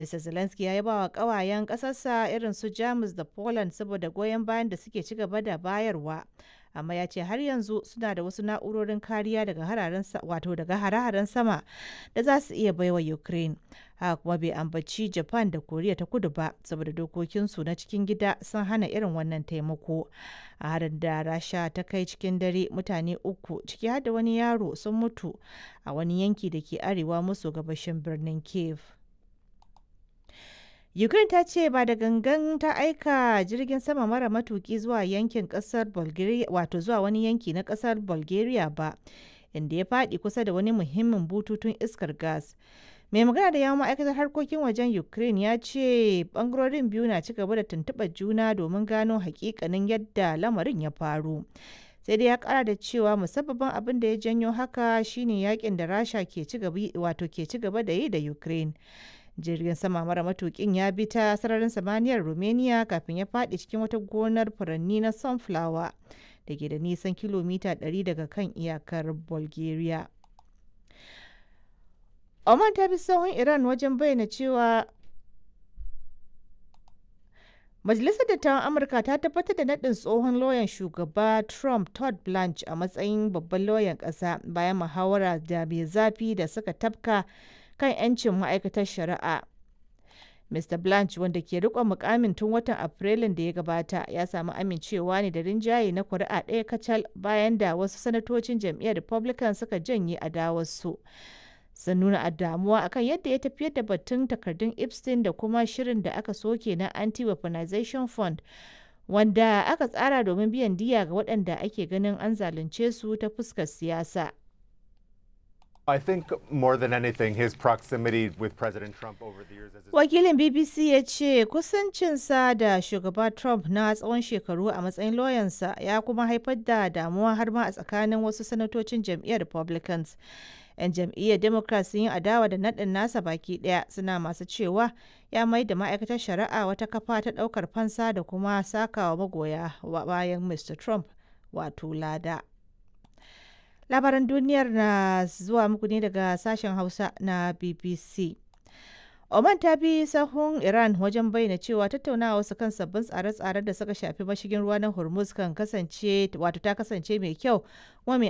Mr. Zelensky ya yaba wa ƙawayen ƙasarsa irin su Jamus da Poland saboda goyon bayan da suke ci gaba da bayarwa, amma ya ce har yanzu suna da wasu na'urorin kariya daga hare-haren sama da za su iya baiwa Ukraine. Haka kuma bai ambaci Japan da Koriya ta Kudu ba saboda dokokinsu na cikin gida sun hana irin wannan taimako. A harin da Rasha ta kai cikin dare, mutane uku, ciki har da wani yaro, sun mutu a wani yanki da ke arewa maso gabashin birnin Kyiv. Ukraine ta ce ba da gangan ta aika jirgin sama mara matuki zuwa yankin kasar Bulgaria, wato zuwa wani yanki na kasar Bulgaria ba, inda ya faɗi kusa da wani muhimmin bututun iskar gas. Mai magana da yawun ma'aikatar harkokin wajen Ukraine ya ce bangarorin biyu na ci gaba da tuntuɓar juna domin gano hakikanin yadda lamarin ya faru. Sai dai ya kara da cewa musabbabin abin da ya janyo haka shine yakin da Rasha ke ci gaba da yi da Ukraine. Jirgin sama mara matukin ya bi ta sararin samaniyar Romania kafin ya faɗi cikin wata gonar furanni na sunflower da ke da nisan kilomita 100 daga kan iyakar Bulgaria. Oman ta bi sahun Iran wajen bayyana cewa Majalisar Dattawan Amurka ta tabbatar da naɗin tsohon lauyan shugaba Trump, Todd Blanche, a matsayin babban lauyan ƙasa bayan muhawara da mai zafi da suka tafka kan 'yancin ma'aikatar shari'a. Mr. Blanche, wanda ke riƙon mukamin tun watan Afrilun da ya gabata, ya samu amincewa ne da rinjaye na kuri'a ɗaya kacal bayan da wasu sanatocin jam'iyyar Republican suka janye adawarsu. Sun nuna a damuwa akan yadda ya tafiyar da batun takardun Epstein da kuma shirin da aka soke na Anti-Weaponization Fund, wanda aka tsara domin biyan diya ga waɗanda ake ganin an zalunce su ta fuskar siyasa. I think more than anything, his proximity with President Trump over the years as his Wakilin BBC ya ce kusancinsa da shugaba Trump na tsawon shekaru a matsayin lauyansa ya kuma haifar da damuwa har ma a tsakanin wasu sanatocin jam'iyyar Republicans. 'Yan jam'iyyar Democrat sun yi adawa da naɗin nasa baki ɗaya, suna masu cewa ya mai da ma'aikatar shari'a wata kafa ta ɗaukar fansa da kuma sakawa magoya bayan Mr. Trump wato lada. Labaran duniyar na zuwa muku ne daga sashen Hausa na BBC. Oman ta bi sahun Iran wajen bayyana cewa tattaunawa su kan sabbin tsare-tsaren da suka shafi mashigin ruwa na Hormuz kan kasance wato ta kasance mai kyau kuma mai